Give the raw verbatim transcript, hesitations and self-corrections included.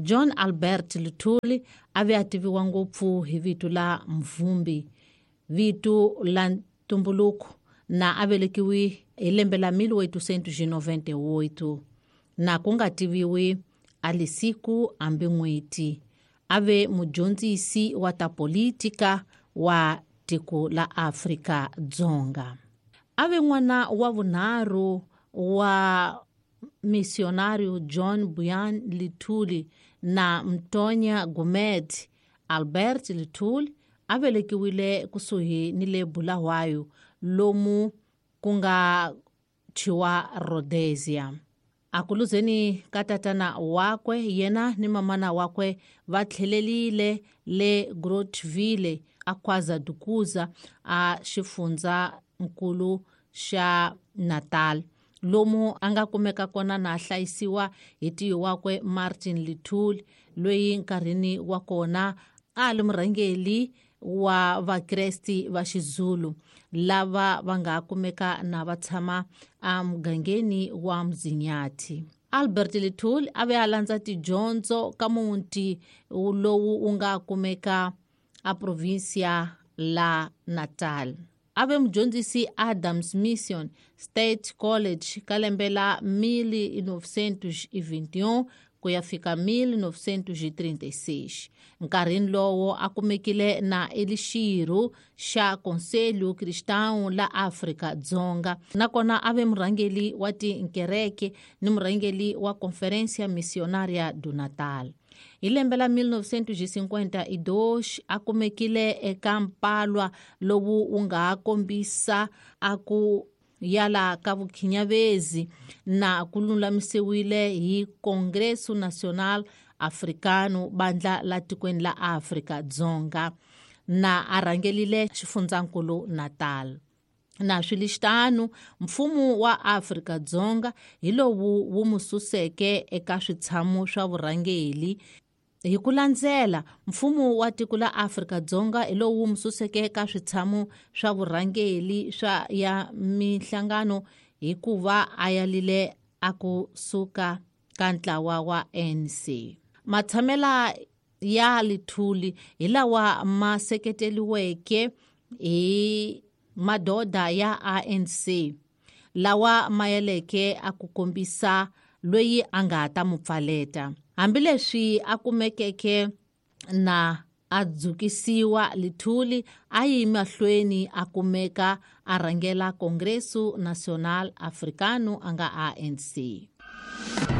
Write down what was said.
John Albert Luthuli a ve a tiviwa ngopfu hi vito la Mvumbi, vito la ntumbuluko, na a velekiwe hi lembe la mil oitocentos e noventa e oito, na ku nga tiviwi a lisiku hambi n'hweti. A ve mudyondzisi wa ta politika wa tiko la Afrika Dzonga. A ve n'wana wa vunharhu wa missionário John Buyan Luthuli na Mtonya Gumed. Albert Luthuli a velekiwile kusuhi ni le Bulawayo, lomu ku nga thyiwa Rhodesia. Akuluzeni ka tatana wakwe, yena ni mamana wakwe va tlhelelile le Groutville a KwaZadukuza a xifundzankulu xa Natal, lomu a nga kumeka kona na hlayisiwa hi tiyi wakwe Martin Luthuli, loyi nkarhini wa kona a li murhangeri wa vakresti va Xizulu lava va nga kumeka na va tshama emugangeni wa Mzinyathi. Albert Luthuli a ve a landza tidyondzo ka muti lowu wu nga kumeka a provinsia la Natal. A ve mudyondzisi Adams Mission State College ka lembe la mil novecentos e vinte e um ku ya fika mil novecentos e trinta e seis. Nkarhini lowo a kumekile na elixirho xa Conselho Cristão la Afrika Dzonga, nakona a ve murhangeri wa tinkereke ni murhangeri wa Conferência Missionária do Natal. Hi lembe la mil novecentos e cinquenta e dois a kumekile eka mpalwa lowu wu nga kombisa a ku yala ka vukhinyavezi na ku lulamisiwile hi Congresso Nacional Africano, bandla la tikweni la Afrika Dzonga, na a rhangelile xifundzankulu Natal. Na swi mfumo wa Afrika Dzonga hi lowu wu mu suseke eka switshamo swa vurhangeri. Hi ku landzela, mfumo wa tiko la Afrika Dzonga hi lowu wu mu suseke eka switshamo swa vurhangeri swa ya minhlangano hikuva a yalile a ku suka ka ntlawa wa A N C. Matshamela ya Luthuli hi lawa ma seketeriweke hi madoda ya A N C, lawa ma yaleke a ku kombisa loyi a nga ta mu pfaleta. Hambileswi a kumekeke na a dzukisiwa, Luthuli a yi mahlweni a kumeka a rhangela Congresso Nacional Africano a nga A N C.